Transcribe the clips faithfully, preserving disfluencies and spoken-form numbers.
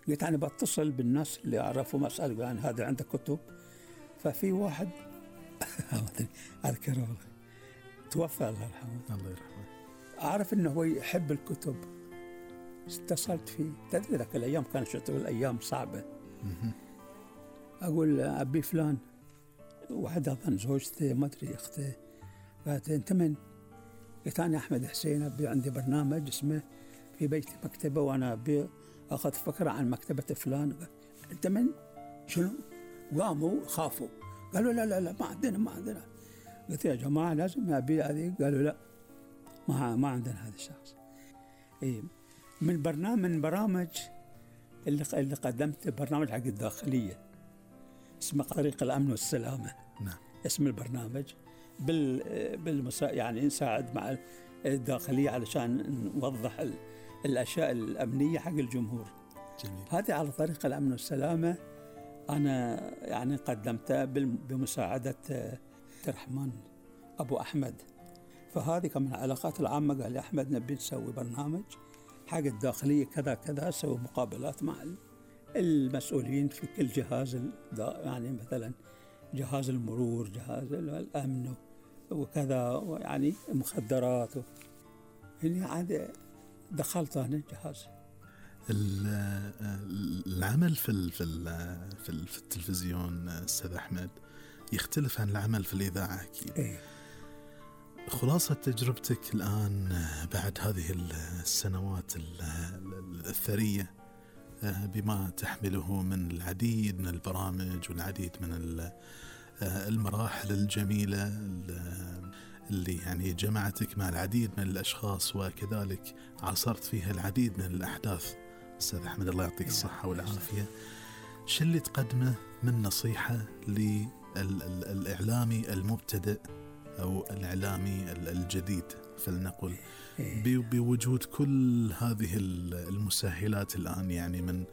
قلت أنا بتصل بالناس اللي أعرفهم أسأل عن هذا عندك كتب. ففي واحد أذكره توفى الله يرحمه الله يرحمه، أعرف أنه هو يحب الكتب. اتصلت فيه، تدري ذاك الأيام كانت شتوى الأيام صعبة. أقول أبي فلان، واحد أظن زوجته ما أدري أخته، قالت أنت من؟ قلت أنا أحمد حسين، أبي عندي برنامج اسمه في بيتي مكتبة وأنا أبي أخذ فكرة عن مكتبة فلان. أنت من؟ شنو؟ قاموا خافوا قالوا لا لا لا ما عندنا ما عندنا. قلت يا جماعة لازم أبي هذه. قالوا لا ما ما عندنا هذا الشخص. إيه من برنامج من برامج اللي اللي قدمت برنامج حق الداخلية اسمه طريق الأمن والسلامة. نعم. اسم البرنامج بال بالمسا يعني نساعد مع الداخلية علشان نوضح ال... الأشياء الأمنية حق الجمهور. جميل. هذه على طريق الأمن والسلامة أنا يعني قدمتها بمساعدة عبد الرحمن أبو أحمد. فهذه كان من العلاقات العامة، قال لي أحمد نبي نسوي برنامج حق الداخلية كذا كذا، سوي مقابلات مع المسؤولين في كل جهاز، يعني مثلا جهاز المرور، جهاز الأمن وكذا، يعني مخدرات. هنا عاد دخلت أنا جهاز. العمل في في في التلفزيون أستاذ أحمد يختلف عن العمل في الإذاعة أكيد. إيه. خلاصة تجربتك الآن بعد هذه السنوات الثرية بما تحمله من العديد من البرامج والعديد من المراحل الجميلة اللي يعني جمعتك مع العديد من الأشخاص، وكذلك عاصرت فيها العديد من الأحداث أستاذ أحمد، الله يعطيك الصحة والعافية. شو اللي تقدمه من نصيحة للإعلامي المبتدئ أو الإعلامي الجديد فلنقل بوجود كل هذه المسهلات الآن، يعني من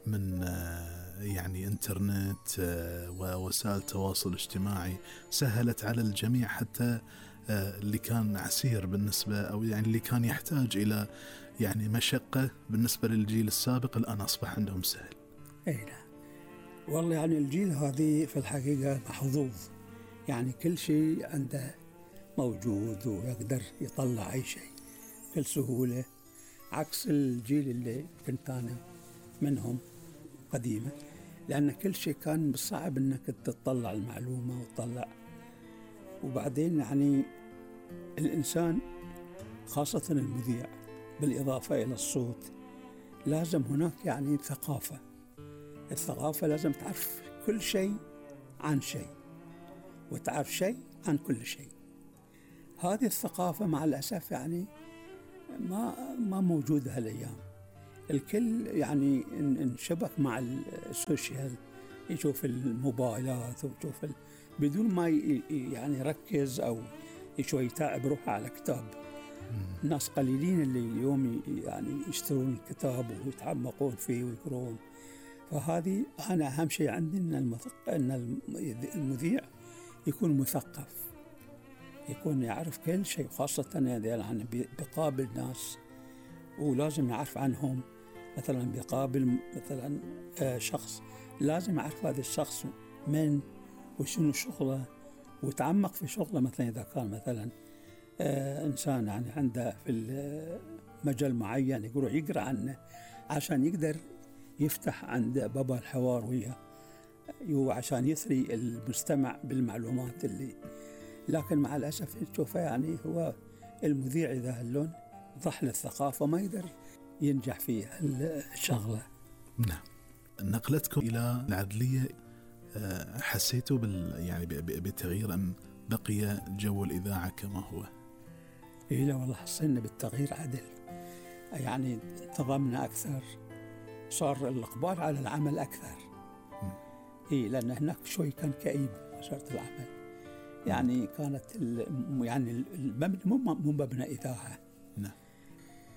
من يعني إنترنت ووسائل تواصل اجتماعي سهلت على الجميع، حتى اللي كان عسير بالنسبة أو يعني اللي كان يحتاج إلى يعني مشقة بالنسبة للجيل السابق الآن أصبح عندهم سهل. أي نعم والله، يعني الجيل هذه في الحقيقة محظوظ، يعني كل شيء عنده موجود ويقدر يطلع أي شيء بكل سهولة، عكس الجيل اللي كنت أنا منهم قديمة، لأن كل شيء كان بالصعب أنك تطلع المعلومة وتطلع. وبعدين يعني الإنسان خاصة المذيع بالإضافة إلى الصوت لازم هناك يعني ثقافة. الثقافة لازم تعرف كل شيء عن شيء وتعرف شيء عن كل شيء. هذه الثقافة مع الأسف يعني ما ما موجودة هالأيام. الكل يعني انشبك مع السوشيال، يشوف الموبايلات ويشوف ال... بدون ما ي... يعني يركز أو شوي يتعب روحه على كتاب. الناس قليلين اللي اليوم يعني يشترون الكتاب ويتعمقون فيه ويقرون. فهذه أنا أهم شيء عندي إن المثق... إن المذيع يكون مثقف، يكون يعرف كل شيء، خاصة يعني بيقابل ناس ولازم يعرف عنهم. مثلا بيقابل مثلا شخص لازم يعرف هذا الشخص من وشنو شغله وتعمق في شغله. مثلا إذا كان مثلا إنسان يعني عنده في مجال معين يقول يقرأ عنه عشان يقدر يفتح عند بابا الحوار وياه وعشان يثري المستمع بالمعلومات اللي. لكن مع الأسف تشوفه يعني هو المذيع إذا هاللون ضحل الثقافة ما يقدر ينجح في الشغلة. نعم. نقلتكم إلى العدلية حسيتوا بال يعني بتغيير أم بقي جو الإذاعة كما هو؟ إيه لا والله حسينا بالتغيير عدل، يعني انتظمنا أكثر، صار الإقبال على العمل أكثر. إيه لأن هناك شوي كان كئيب وزارة العمل، يعني كانت يعني المبنى مو مبنى إذاعة. نعم.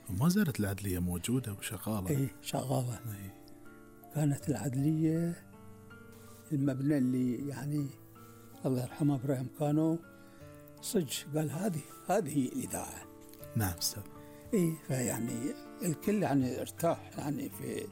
وما زالت العدلية موجودة وشغالة. إيه شغالة. إيه. كانت العدلية المبنى اللي يعني الله يرحمه إبراهيم كانوا صج قال هذه هذه الإذاعة. نعم أستاذ. إيه فيعني الكل يعني ارتاح يعني في